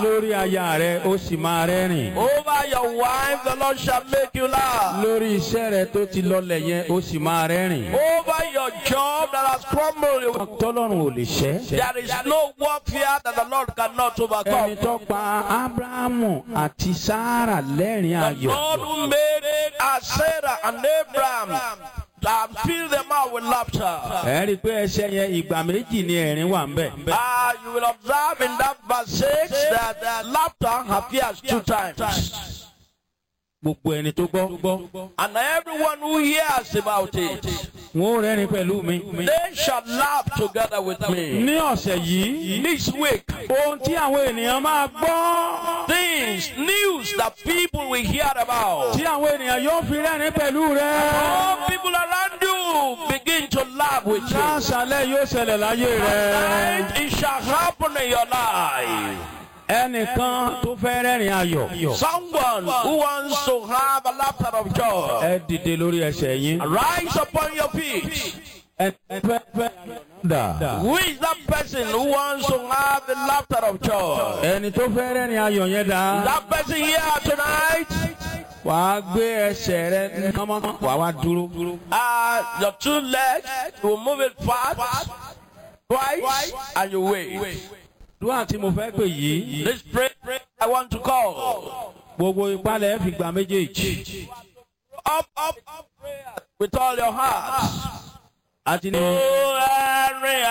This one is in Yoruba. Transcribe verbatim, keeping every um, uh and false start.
Lórí aya rẹ, ó sì máa rẹ́rìn. Over your wife, the Lord shall make you laugh. Lórí iṣẹ́ rẹ tó ti lọlẹ̀ yẹn, ó sì máa rẹ́rìn. Over your job that has crumbled, Tọ́lọ́run ò lè ṣẹ́. there is no warfare that the Lord cannot Ẹni overcome. tó pa Ábúráhámù àti Sáárà lẹ́rìn The ayọ̀. Lord who made Sarah and Abraham and fill them out with laughter. Ẹ rí i pé ẹsẹ̀ yẹn, ìgbà méjì ni ẹ̀rín wà ń bẹ̀. Uh, you will observe in that verse six that uh, laughter appears two times. Gbogbo ẹni tó gbọ́. And everyone who hears about it, Wọn ó rẹ́rìn pẹ̀lú mi. they shall laugh together with me. Ní ọ̀sẹ̀ yìí, This week, ohun tí àwọn ènìyàn máa gbọ́, things, news that people will hear about. tí àwọn ènìyàn yóò fi rẹ́rìn pẹ̀lú rẹ. All people around you begin to laugh with you. Láṣálẹ̀ yóò ṣẹlẹ̀ láyé rẹ. Tonight, it shall happen in your life. Ẹnìkan tó fẹ́ rẹ́rìn ayọ̀. Someone who wants to have a laughter of joy, Ẹ dìde lórí ẹsẹ̀ yín. rise upon your feet. Ẹ fẹ́ fẹ́ dà. Who is that person who wants to have the laughter of joy? Ẹni tó fẹ́ rẹ́rìn ayọ̀ yẹn dà. That person here tonight, Wàá gbé ẹsẹ̀ rẹ kánmọ́, wàá wá dúró. uh, your two legs, you will move it fast, twice, and you wait. Dúwà tí mo fẹ́ pè yìí. This prayer I want to call. Gbogbo ìpalẹ̀ fi gba méjèèjì. Up, up, up, prayer with all your heart. Àti ní. Oh, Henry,